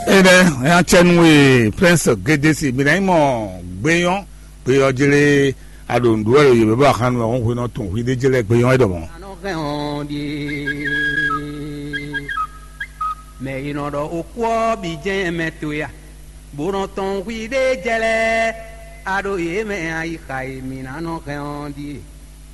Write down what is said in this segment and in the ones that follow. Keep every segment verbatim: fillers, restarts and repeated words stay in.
Énɛ́, é ná cɛ nú we, Prince Gedesi, mi ná nyí mɔ gbeyɔ́, gbeyɔ́ jlé aɖo nǔɖuɖu wɛ ɖo yě bɔ axanu wɛ hɔn hwenɔ tɔn hwi ɖé jlɛ gbeyɔ́ é ɖɔmɔ. Mɛ yi nɔ ɖɔ okú ɔ́ bǐ jɛ́n mɛ towe a? Bó nɔ tɔn hwi ɖé jɛ lɛ́ɛ, a ɖo yě mɛ ayixa e mǐ ná nɔ hɛn ɔ́ ɖíe.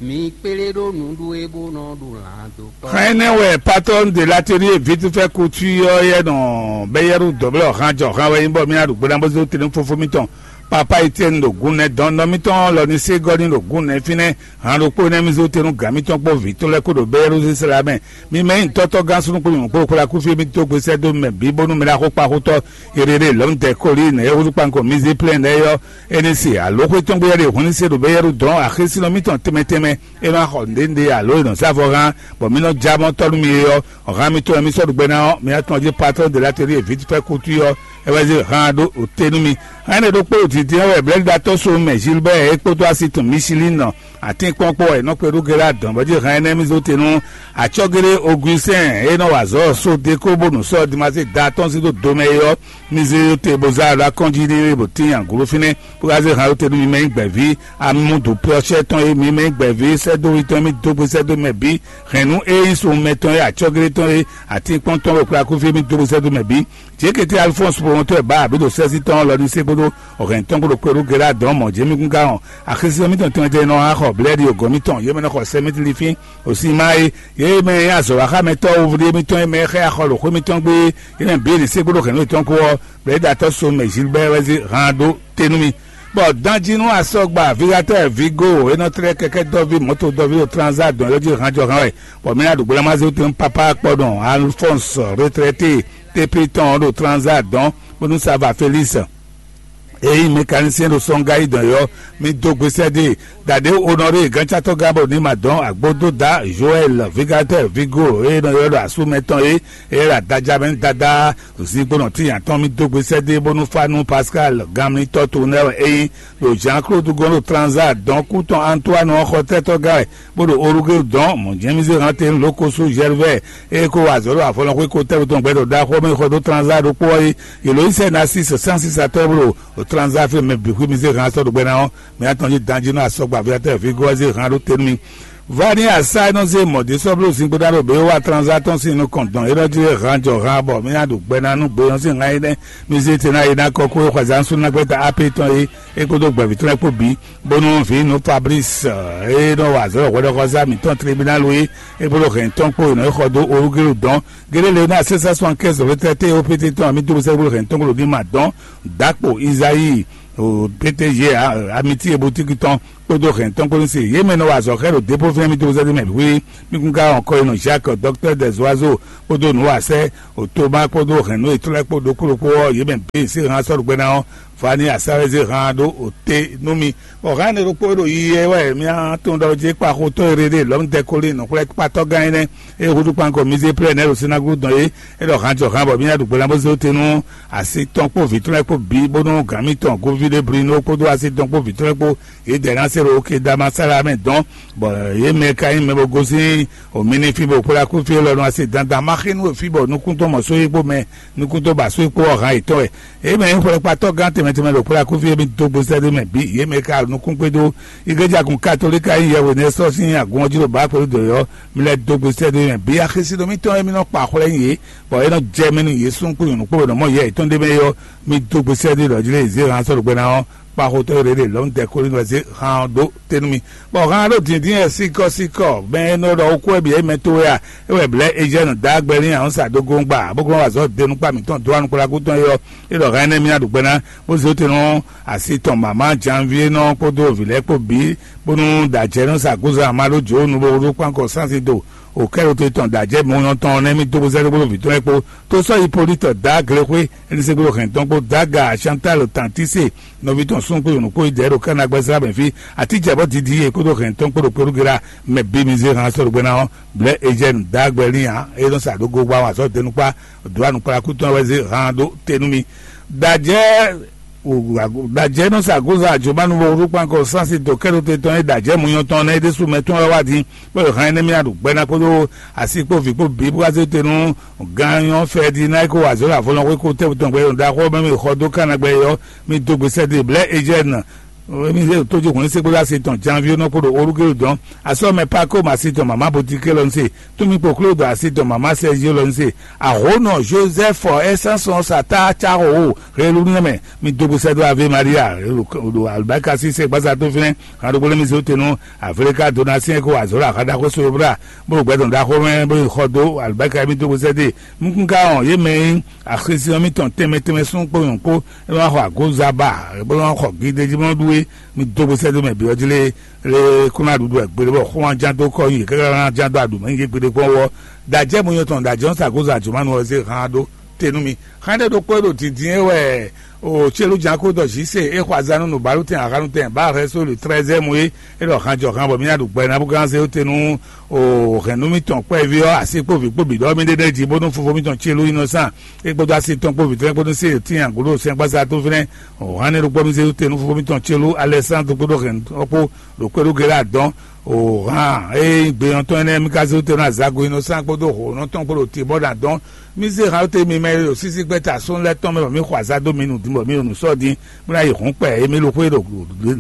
Mi kplé ɖó nǔɖuɖu e bó nɔ ɖu lan dó kɔ. Xan énɛ́ wɛ patɔ́n de l'atelier vite fait couture ɔ́ yɛ nɔ bɛ́ yɛ́ ɖo dɔ̌blɛ́ ɔ̌ han jɔ han wɛ nyí bɔ mì ná ɖu gbe ná bó zé tɛ́nú fófó mitɔn. Papa Etiɛni ɖo gǔn nɛ́ dɔn nɔ mitɔn lɔ ní sé gɔ́ ní ɖo gǔn nɛ́ fínɛ́. Han ɖokpó énɛ́ mì zé tɛ́nú gǎn mitɔn kpó vǐ tɔn lɛ́ɛ kó ɖo bɛ́ yɛ́ ɖo zé sla mɛ. Mi mɛ nyí tɔ́tɔ́ gán súnnu kpó nyɔ̌nu kpó xwlá kúfí mì dó gbe sɛ́ dó mɛ bǐ bónú mɛ ná xó kpa xótɔ́. Yɛɖeɖe lɔ̌n dɛ kóli nɛ̌ e húzú kpánkɔ mì zé plɛ́n nɛ́ yɔ́. É ní se alǒxwé tɔn gbé yɛ́ ɖe hun ní se ɖo bɛ́ yɛ́ ɖo dɔ̌n axésínɔ mitɔn tɛnmɛ tɛnmɛ. É nɔ xɔ nǔɖé nǔɖé alo è nɔ zé avɔ hán, bɔ mì nɔ já mɔ tɔ́ nú mi é ɔ́, hǎn mitɔn e mi sɔ́ ɖu gbɛ ná ɔ́, mi ná tunwun jí patɔ́n de l'atelier vite fait couture ɔ́, é wɛ zé hǎn ɖó òté nú mi. Hǎn énɛ́ ɖokpó ɖo dǐndín ɔ́ wɛ blɛ̌ɖiɖatɔ́ so mɛ Gilbert e kpódó así tɔn Michelin nɔ atínkpɔ́n kpó wɛ è nɔ kpe ɖó Gela dɔn bɔ jí hǎn énɛ́ mi zó te nú acɔ́géɖé Augustin e nɔ wa azɔ̌ só dé kó bónú sɔ́ Dimasée da tɔn sí dó do mɛ é ɔ́, mi zé te bó zá alɔ akɔ́njí ní bó tín agǔlú fínɛ́ bó ka zé hǎn ɖó te nú mi mɛ nyí gbɛ̌ví amúdǔ plɔ́cɛ́ tɔn e mi mɛ nyí gbɛ̌ví sɛ́dó wi tɔn e mi dó gbe sɛ́dó mɛ bǐ hɛ̌nnu e nyí sun mɛtɔn e acɔ́géɖé tɔn e atínkpɔ́n tɔn wɛ kplá kúfí mi dó gbe sɛ́dó mɛ bǐ. Jěkété Alifɔ́nsu Pɔmɔtɔ́ e bǎ abǐ ɖo sɛ́sí tɔn lɔ ní sé kpódó hɛ̌n tɔn kpódó kpé ɖó Gela dɔn mɔ̌ jě mi kún gán ɔ́, axésinɔ mítɔn tɛnmɛ tɛnmɛ nɔ wá xɔ blɛ́ɖi ogɔ̌n mítɔn, yě mɛ nɔ xɔ sɛ mítli fín osímáé, yě mɛ e nyí azɔ̌waxámɛtɔ́ wovlí émítɔn e mɛ e xá axɔ ɖo xwé mítɔn gbé é, yě mɛ bǐ è nǐ sé kpódó hɛ̌nnu yětɔn kpó ɔ́, blɛ̌ɖiɖatɔ́ so mɛ Gilbɛ́ wɛ zé han dó te nú mì. Bɔ danjí nú asɔgba Vigatɛ́ Vigo e nɔ tlɛ́ kɛkɛ́ dɔ́ví mɔ̌to dɔ́ví ɖo Tranzá dɔn yɔ́ jí hanjɔhan wɛ, bɔ mì ná ɖo gbla má zé wú tɛn nú papá kpɔɖɔn Alfɔ́ns retrɛté Tépli tɔn ɔ́ ɖo Tranzá dɔn, bónú Sava Felísi e nyí mɛkanisɛn ɖo sɔ́ngayi dɔn yɔ́, mi dó gbe sɛ́ dó e. Dǎɖé Onɔré gǎncátɔ́ gán bɔ ní ma dɔn agbódóda Joɛl Vigatɛ́ Vigo e nɔ ylɔ́ ɖɔ asú mɛtɔn é, é ɖo adaja mɛ nú Dadá Zinkpo nɔ tín atɔn mi dó gbe sɛ́ dó e bónú fá nú Pascal ganmlítɔ́ to nɛ́ wɛ é nyí ɖo Jean-Claude gɔ́n ɖo Tranza dɔn kú tɔn Antoine ɔ́ xɔtɛ́tɔ́ gán wɛ, bó ɖo Orugéwu dɔn mɔ̌ jɛ́n mì zé hán te nú Lokosu Jɛrvɛ́ e ko wa azɔ̌ ɖo afɔlɔxwé ko tɛ́ tɔn gbɛ ɖo ɖaxó mɛ xɔ dó Tranza ɖokpó ɔ́ é. Yě lɔ yí sɛ́ Nasísi sánsísatɔ́ bó ɖo Tranza fí mɛ bǐ xwí mi zé hán sɔ́ ɖo gbɛ ná ɔ́, mɛ atɔn jí danjí nú asɔgba Aviatɛ́ɛ Vigo ɔ́ zé hán ɖó te nú mi. Vani asa e nɔ zé mɔ̌ ɖé sɔ́ bló zingbo ɖa ɖo bě wá tranzatɔ́n sín nukɔn dɔn é ɖɔ jí hán jɔ hán bɔ mì ná ɖo gbɛ ná nú gbeyɔ́n sín hán énɛ́ mi zé te ná é ná kɔ kó é xɔ azǎn sú ná gbɛ́ta apé tɔn é, é kpódó gbɛ̌ví tɔn lɛ́ɛ kpó bǐ, bónú vǐ nú Fablísi e nɔ wa azɔ̌ hwɛɖɔxɔzá mǐtɔn Tlebínálu é, é kpódó hɛ̌n tɔn kpó è nɔ é xɔ dó Olúgélu dɔn. Géɖé le ná sɛ́sɛ́ sɔnkɛ́ zɔ̌lítɛ́té opété tɔn amí dó sɛ́ kpódó hɛ̌n tɔn kpó ɖo ní ma dɔn. Dǎkpo Izayi, pété yě amiti e bo tíki tɔn kpódó hɛn tɔn kpó ní se yě mɛ nɔ wa azɔ̌ xɛ ɖo dépófínɛ́ mì dó zɛ́ dó mɛ hwíhwí. Mì kún ka wɔn kɔ e nɔ Jacques, docteur des oiseaux, kpódó nǔwasɛ́, Toma kpódó hɛn nǔ yětɔn lɛ́ɛ kpó ɖokpó ɖokpó ɔ́, yě mɛ bǐ se hán sɔ́ ɖo gbɛ ná ɔ́, Vani asá wɛ zé hán ɖó òté nú mì. Bɔ hán énɛ́ ɖokpó e ɖo yiyi wɛ mía tunwun ɖɔ jí kpa xotɔ́ e ɖe ɖe lɔ̌mdɛkóli nǔxwlɛ́kpatɔ́ gán énɛ́ e húzú kpankɔ mì zé plɛ́ nɛ́ ɖo sinágúdu dɔn é, é ɖɔ hán jɔ hán bɔ mì ná ɖu gbe ná bó zé te nú asi tɔn kpó vǐ tɔn lɛ́ɛ kpó bǐ, bónú gǎn mitɔn Govíɖeblino kpódó asi tɔn kpó vǐ tɔn lɛ́ɛ kpó yědɛɛ ná se ɖo Kedamasála mɛ dɔn, bɔ yě mɛ ka nyí mɛ bo gosín omi ní fí bɔ kplá kú fí élɔ́ nú asi dandan ma xí nú fí bɔ nukún tɔn mɔ só yí kpó mɛ nukún tɔn ba só yí kpó ɔ́ hán yětɔn wɛ. Yě mɛ nyí xwlɛkpatɔ́ gán tɛnmɛ tɛnmɛ ɖo kplá kú fí é mì dó gbe sɛ́ ɖé mɛ bǐ, yě mɛ ka nukún kpé dó igleja gun katolíka nyí yɛhwe nɛ́ sɔ́ sín agun ɔ́ jí ɖo bǎ kpɛɖú dǒ yɔ́, mi lɛ́ dó gbe sɛ́ ɖé mɛ bǐ axésinɔ mítɔn e mì nɔ kpa xwlɛ́ nyi yě, bɔ é nɔ jɛ mɛ nú yě súnnu kpó nyɔ̌nu kpó bɔ è nɔ mɔ yɛ yětɔn ɖ'é mɛ é ɔ́, mi dó gbe sɛ́ ɖé ɖɔ jí lé zé hán sɔ́ ɖo gbɛ ná ɔ́, kpa xotɔ́ e ɖě lɔ̌nu tɛkólinɔ zé hán ɔ́ dó te nú mi. Bɔ hán ɖo dǐndín wɛ síkɔ́síkɔ mɛ e nɔ ɖɔ wú kú wɛ bǐ é mɛ towe a? É wɛ blɛ̌ Ejɛ́nu dǎgbɛ́ ní ahɔ́nsa dó gɔ́n gba bó glɔ́n azɔ̌ denukpá mǐtɔn dó anukplaku tɔn é ɔ́, é ɖɔ hán énɛ́ mì ná ɖu gbɛ ná, bó zé te nú asi tɔn mǎmá Janviénɔ kpódó vǐ lɛ́ɛ kpó bǐ, bónú dǎjɛ́nɔ sa gúzan ma ɖó jǒ nu bó ɖó kpánkɔ sánsín do. Òkɛ́ɖoto tɔn dǎjɛ́ mɔnyɔ́ tɔn nɛ́ mì dó bó zɛ́ ɖó bó vǐ tɔn lɛ́ɛ kpó. Tó sɔ́ Hipólítɔ dǎ Glexwé, Elisegbéɖo hɛn tɔn kpó Daga Chantal Tantise, nɔví tɔn súnnu kpó nyɔ̌nu kpó yi dɛ̌ ɖo Kana gbɛzlá mɛ fí. Atíjɛ bɔ didi yě kpódó hɛn tɔn kpó ɖo kpéɖúgela mɛ bí mi zé han sɔ́ ɖo gbɛ ná ɔ́, blɛ̌ Ejɛ́nu dǎgbɛ́ lín ǎ, é nɔ sa ɖó go gbá wa sɔ́ denukpá dǒ anukplaku tɔn wɛ zé han ɖó te nú mi. Dǎjɛ́ Ɖajɛ nɔ sa goza ajománu vɔ ɖo kpankɔ sansi to kɛɖo te tɔn e ɖajɛ munyɔ tɔn nɛ ɖésú mɛ tɔn wá wá din, bɔ yɔ hɛn nɛ mì aɖu gbɛ ná kpódó asi kpó vǐ kpó bǐ bó wá zé te nú ganyɔ fɛ di ná ko azɔ la vɔlɔn ko tɛ tɔn gbɛ yɔ da xɔ mɛ mi xɔ dó kana gbɛ yɔ mi dó gbèsè de blɛ ejɛn. Mi zé tó jí hɔn se kpódó asi tɔn janvier nɔ kpódó orúkérú dɔn asɔ mɛ pako ma asi tɔn mama botike lɔ se tumi kpoklo dɔ asi tɔn mama sɛzio lɔ se ahonɔ joseph ɛsɛnsɔn sata caho o helu nɛ mɛ mi dó gbèsè dó ave maria ɖo alibaka si se gbasa tó fínɛ hã ɖokpó lé mi zé tenu aveleka donatien ko azɔ la hã ɖaxó so bra bó gbɛdɔn ɖaxó mɛ bó xɔ dó alibaka mi dó gbèsè dé. Nukúnká ɔn yé mɛ nyí axisínɔ mitɔn tɛnmɛ tɛnmɛ sún kpó nyɔ̌ kpó é ma xɔ agozaba bó ma xɔ gídéjí mɔ ɖú é. Mi dó gbèsè dó mɛ bǐ ɔ́ jí lé lé kó ná ɖuɖu ɛ gbeɖé bɔ xó ná ján dó kɔ nyi káká ná ján dó aɖu mɛ nyi gbeɖé kpɔ́n wɔ dajɛ mo nyɔ tɔn dajɛ ɔ́ sa gozo àjò ma nu ɔ́ zé hán ɖó tenu mi. Hán ɖé ɖokpó ɖo dǐndín é wɛ o célu ján kó dɔ zǐ se é xɔ azán nú nǔbálú tɛn ahánu tɛn bá hɛn sóli trɛ́zɛ́mu é é ɖɔ hán jɔ hán bɔ mí ná ɖu gbɛ ná bó gán zé ó tenu o hɛn nú mítɔn kpɛví ɔ́ asi kpó vǐ kpó bǐ ɖɔ mí ɖé ɖɛ́ jí bónú fofo mítɔn célu innocent é kpódó asi tɔn kpó vǐ tɔn é kpódó sí tín agǔɖo sɛn gbásá tó fínɛ́. Hánɛ ɖokpó mi zé tenu fofó mitɔn celu alɛsándro kpódó hɛn ɔ́ kpó ɖo kpéɖóge lɛ́ɛ adɔn. O hán eye nyí gbe ɔ́ tɔn énɛ́ mi ka zé tenu azago inɔsán kpódó hǒnɔ tɔn kpó ɖo te bɔ ɖo adɔn. Mi zé hán te mi mɛ e ɖo sísí gbɛ́ta sɔ́n lɛ́ɛ tɔn mɛ bɔ mi xɔ azá dó mi nu din bɔ mi ɖo nǔ sɔ́ din bó ná yi hǔn kpɛ e mi ɖo xwé ɖo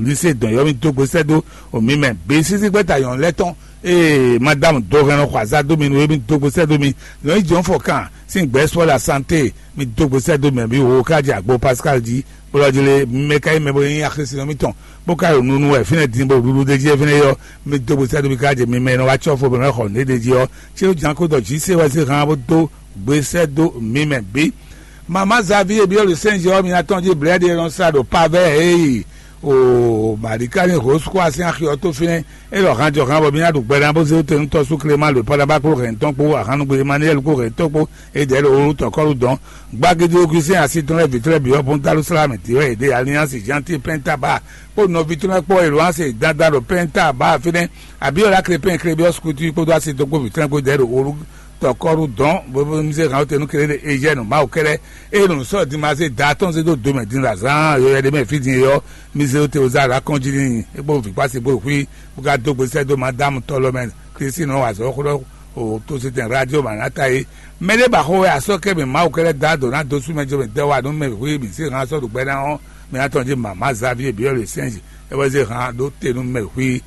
lise dɔn yɔ mi dó gbe sɛ́ dó o mi mɛ bǐ sísí gbɛ́ta nyɔ̌nu lɛ́ɛ tɔn. Ee madame dó hɛn nɔ xɔ azá dó mi nu e mi dó gbe sɛ́ dó mi nyɔ̌nu yi jɔ̌n fɔ kan sín gbɛ̌ sɔ la santé. Mi dó gbe sɛ́ dó mɛ mi wo ká jɛ agbo pascal jí. Bó lɔ jlé mɛ ka nyí mɛ bó nyí axésinɔ mitɔn bó ka ɖo nunu wɛ fínɛ́ din bó ɖuɖu ɖ'é jí fínɛ́ yɔ. Mi dó gbe sɛ́ dó mi ká jɛ mi mɛ e nɔ wá cɔ́ fo bɔ mɛ xɔ nǔ ɖé jí ɔ́. Célu jǎn kó dɔ jǐ se wɛ zé han bó dó gbe sɛ́ dó mi mɛ bǐ. Mama Xavier Biɔlu Sɛnzɛ ɔ́, mi ná tɔn jí blɛ̌ɖi e nɔ sa ɖo pavɛ ee o Marikani Rose kó asín axi ɔ́ tó fínɛ́. É ɖɔ hanjɔhan bɔ mi ná ɖu gbɛ ná bó zé tɛnutɔ́ sú Clément le Panaba kpó hɛn tɔn kpó ahannugbe Emmanuel kpó hɛn tɔn kpó. Edɛɛ ɖo wonu tɔkɔlu dɔn gbagidi Augustin asi tɔn lɛ vitɔlɛ bi ɔbun Dalusalami ti wɛ ede Alliance Gentil Penta ba kpó nɔvi tɔn lɛ kpó Eloise dada ɖo Penta ba fínɛ. Abiola Crépin Crébius Couture kpódó asi tɔn kpó vitɔn lɛ kpó dɛɛ ɖo wonu tɔkɔlu dɔn bóbó mi se hàn tenu kele ɖe Eugène Mawu kɛlɛ eye nɔ sɔ dimaze da tɔn se do dome din la zan yɔyɔ ɖe mɛ fi din yɔ. Mi se te oza la kɔn jí ni e kpó vikpasi bó hui bó ka dó gbesɛ dó madame tɔlɔmɛ Christine wazɔ xlɔ o to se tɛn radio manata ye. Mɛ ɖé ba xo wɛ asɔ kɛ mi Mawu kɛ lɛ da do na do su mɛ jo mi dɛ wa nu mɛ hui mi se han sɔ ɖo gbɛ na ɔ mi na tɔn ji mama Xavier biɔ le sɛnji e wɛ ze han ɖo te nu mɛ hui.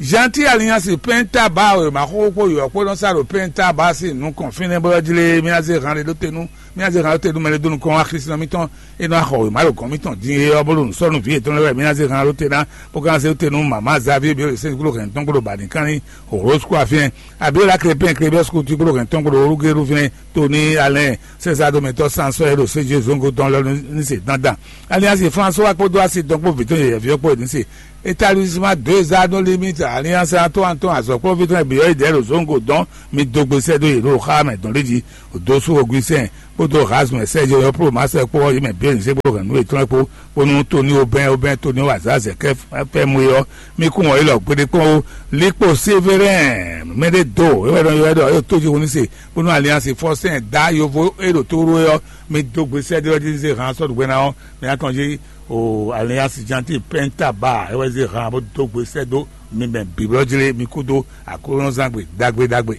Gentil Alliance pɛnta ba o ma xo kpo yɔ kpo nɔ sa ɖo pɛnta ba si nukɔn fínɛ bɔ jlé mi na ze han ɖe ɖo te nu mi na ze han ɖo te nu mɛ ɖe do nukɔn wa Kristi nɔ mitɔn e nɔ axɔ wema ɖo gɔn mitɔn din e ɔ bolo nusɔnu vi etɔn lɛ wɛ mi na ze han ɖo te na bó kan se te nu mama Xavier biɔ le sɛnji klo hɛn tɔn klo ba ni kan ni Rose kó afin. Abiola Crépin Crébius kó tí kpló hɛn tɔn kpló orúkérú fínɛ Tony Alain César dometɔ Sansɔ Edo Sejo Zongo dɔn lɔ ní se dandan. Alliance François kpódó asi dɔn kpó vǐtɔn yɛyɛ viɔ kpó ní se. Établissement deux anneaux limite Alliance Antoine tɔn azɔkpɔ́ vítɔn bǐ ɔ́ yi dɛ̌ ɖo Zongo dɔn mi dó gbe sɛ́ dó yě ɖo xá mɛ dɔn lé jí. Dosu Augustin kpódó Rasmus Sergio yɔ kpó Marcel kpó ɔ́ yě mɛ bǐ ní se kpló hɛn nú yětɔn kpó bónú Tony Aubin Aubin Tony wazazɛ kɛ fɛ́ mú ɔ́ mi kún wɔ ilɔ gbeɖé kpɔ́n ó. Likpo Sévérin mɛɖé do ewé ɖɔ ewé ɖɔ yóò tójú wọn ní se bónú Alliance Fɔsɛn dá yovo e ɖo tóru é ɔ́ mi dó gbe sɛ́ ɖé ɔ́ jí zé han sɔ́ ɖugbɛ ná ɔ́ mi atɔn jí o Alliance Gentil Penta ba ewé zé han bó dó gbe sɛ́ dó mi mɛ bǐblɔ́ jí lé mi kú dó aklúnɔzán gbe ɖagbe ɖagbe.